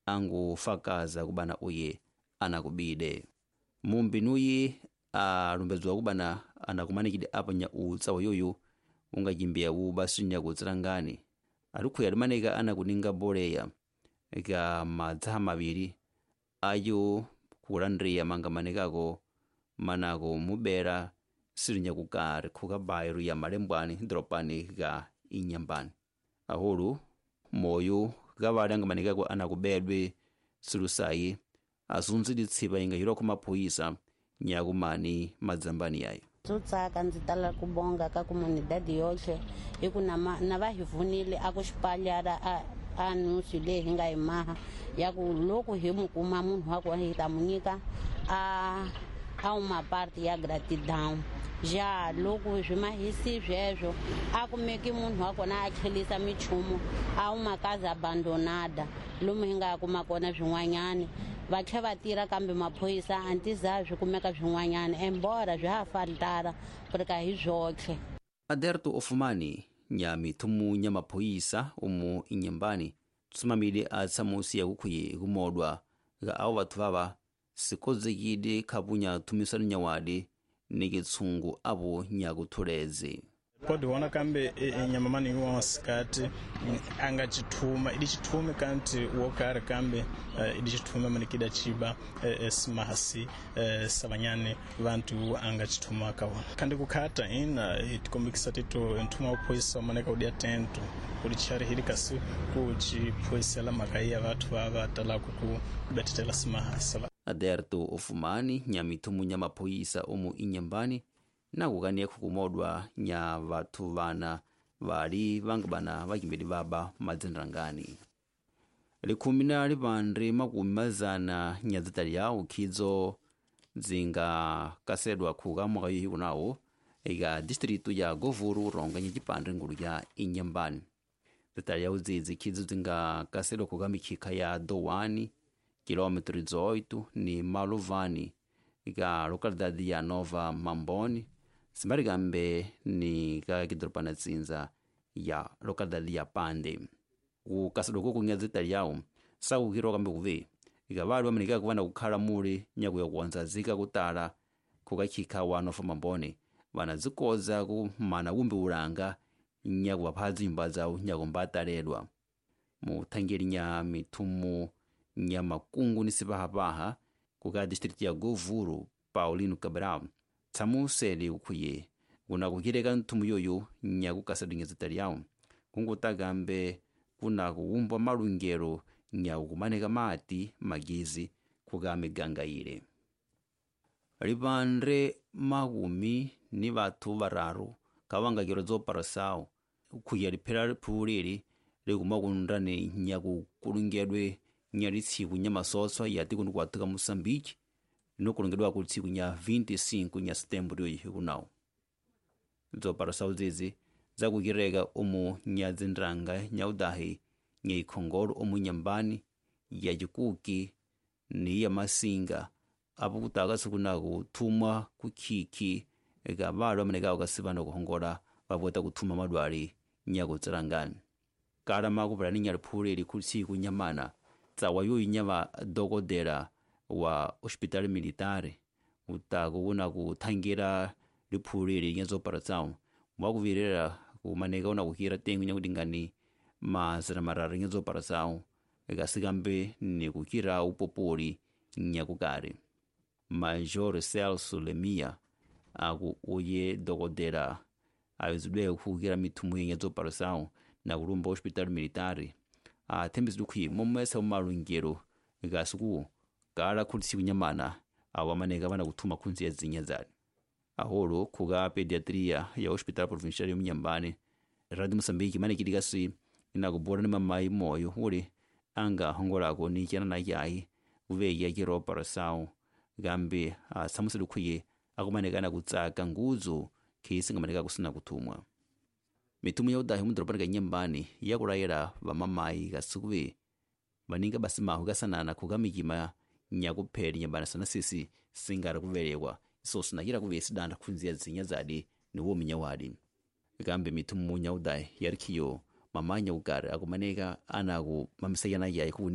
Angufakaza kubana uye anakubide mumbinuyi alumbedzwa kubana anakumanikide apa nya utsawa yoyu ungachimbiya basi nyakutsirangani alikhuya limanika anakuninga boleya ka madzaha maviri ayo kulandriya mangamanikako manako mubera sili nyakukari khuka bairu ya malembwani dropani ka inyambani ahulu moyo kavali angamanikako anakubedwe silusayi azunzidi tsipa inga yilokho maphoyisa nyakumani madzambani yayo Tsutsaka ndzi tala ku bonga ka comunidade yoxe hi ku na va hi vunile a ku xipalyara a nusu leyi hi nga yi maha ya ku loko hi mu kuma munhu wa kona hi ta mu nyika a uma parte ya gratidão ja loko swi mahisi sweswo a kumeki munhu wa kona a tlhelisa michumu a uma casa abandonada lomu hi nga kuma kona swin'wanyani va tlhe va tirha kambe maphorisa a ntiza swi kumeka swin'wanyana embora swi ha faltara ku ri ka hi zwotlhe. Aderto Ofumani nya mithumu nya maphoyisa umu inyambani tsumamile a tsamusi yakukhuye kumodwa ga awo bathu baba sikozekile khapunya thumisano nyawadi ni kitshungu abo nyakuthuleze podiona kambe nyama mani wansikati anga chithuma idi chithume kanti wokari kambe idi chithume manikida chiba simahasi savanyani vantu anga chithuma kaona kandi kukhata ina itikombikisa tito nthuma uphoyisa maneka udia tento kuli chari hili kasi kuchiphoyisela maka ya vathu vava talaku ku betetela simahasi. Aderto Ofumani nya mithumu nya maphoyisa omu inyambani nakukaniya khukumodwa nya vathu vana vali vangabana vakimbeli vaba madzinrangani likhumi na lipanre makumi mazana nya dzitaliyawo khidzo dzingakasedwa khuka mwaka yohi kunawo ika distritu ya Govuru ronga nya cipanre ngulu ya inyambani dzitaliyawo dzidzi khidzo dzingakasedwa khuka mikhikha ya Dowani kilômetro 18 ni Maluvani ika localidade ya Nova Mamboni simbalikambe ni ka kidropana tsinza ya localidade ya Pande kukasedwa kokunya dzitaliyawo sakukhirwa kambe kuve ika vali vamanikaka kuvana kukhala muli nyakuya kuwanzazika kutala khukakhikha wa Nova Mamboni vana dzikoza kumana kumbi ulanga nyakuvapha dzinyumba zawo nyakumbataledwa muthangeli nya mithumu nya makungu ni sipahapaha kuka distritu ya Govuru Paulino Cabral tsamusele ukhuye kuna kukhileka nthumu yoyo nyakukasedwa nyazitaliyawo kungutakambe kuna kuwumbwa malungelo nyakukumaneka mati magizi kuka miganga ile lipanre makumi ni vathu vararu kavangakiro dzoparasawo ukhuya liphera liphulili likuma kunrani nyakukulungedwe nya litsiku nya masoso ya tiko nikuwatuka Moçambique linokulongedwa ku tsiku nya 25 nya setembro yoyi kunawo dzoparasawo dzidzi dzakukireka omu nya dzindrang nya udahi nya ikhongolo omu nyambani ya cikuki ni ya masinga apo kutaka sikunaku thumwa kukhikhi eka valo amanekawo kasivana kuhongola vapota kuthuma madwali nyakutsirangani kala makupulani nya liphuleli khu tsiku nyamana tsawa yoyi nya va dokodela wa hospital militare utako kuna kuthangira liphuleli nya zopara tsawo mwakuvirera kumaneka una kukhira tengo nya kudingani mazana mararu nya zopara tsawo ikasikambe ni kukhira upopoli nyakukari Major Celso Lemia aku uye dokodela awizidwe kukhira mithumu nya zopara tsawo na kulumba hospital militare athembizidwe khuyi momwesa umalungelo ikasiku kala khulisiku nyamana awo amaneka vana kuthuma khunzi ya dzinya dzali aholo khuka pediatria ya hospital provincial yomunyambani Radio Moçambique manekilikasi inakubora ni mamayi moyo uli anga hongolako ni chana na yayi kuveya kiropara sawo kambe atsamusele khuye akumanekana kutsaka nguzo khisi ngamaneka kusina kuthumwa mithumu ya udahi mudorobani ka nyambani yakulayela vamamayi kasikuve vaninga basi mahu kasanana khuka mikima nyakupheli nyambani sana sisi singari kuvelekwa iso sinakira kuve sidanda khunziya dzinya zadi ni wominya wadi kambe mithumu nya udahi yarikhiyo Mamanya kukari akumaneka ana ku mamisayana yayi ku.